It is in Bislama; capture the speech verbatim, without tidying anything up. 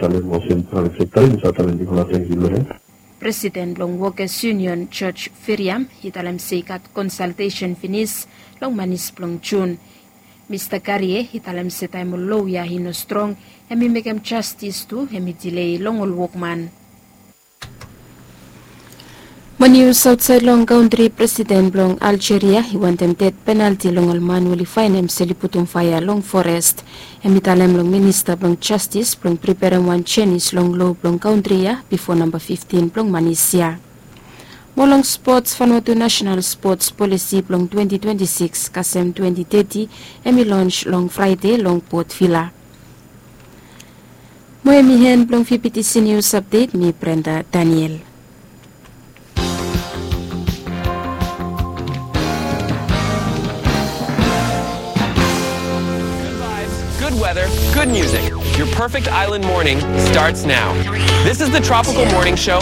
Talem olsem praevet sekta i save talem bigfala tangkiu long hem. Presiden blong Wokes Yunion, George Firiam, i talem se i gat konsaltesen finis long manis blong Jun. Mista Garie i talem se taem ol loa ya i no strong, hem i mekem jastis tu hem i dilei long ol wokman. Mo nius aotsaed long kantri, presiden blong Aljeria i wantem ded penalti long ol man we oli faenem se oli putum faea long forest. Hem i talem long minista blong jastis blong priperem wan jenis long loa blong kantri ya bifo namba fiftin blong manis ya. Mo long spots, Vanuatu National Spots Polisi blong twenti twenti sikis kasem twenti teti hem i lons long Fraede long Port Vila. Mo hem i hen blong VBTC News Update, mi Brenda Daniel. Good vibes, good weather, good music. Your perfect island morning starts now. This is the Tropical Morning Show.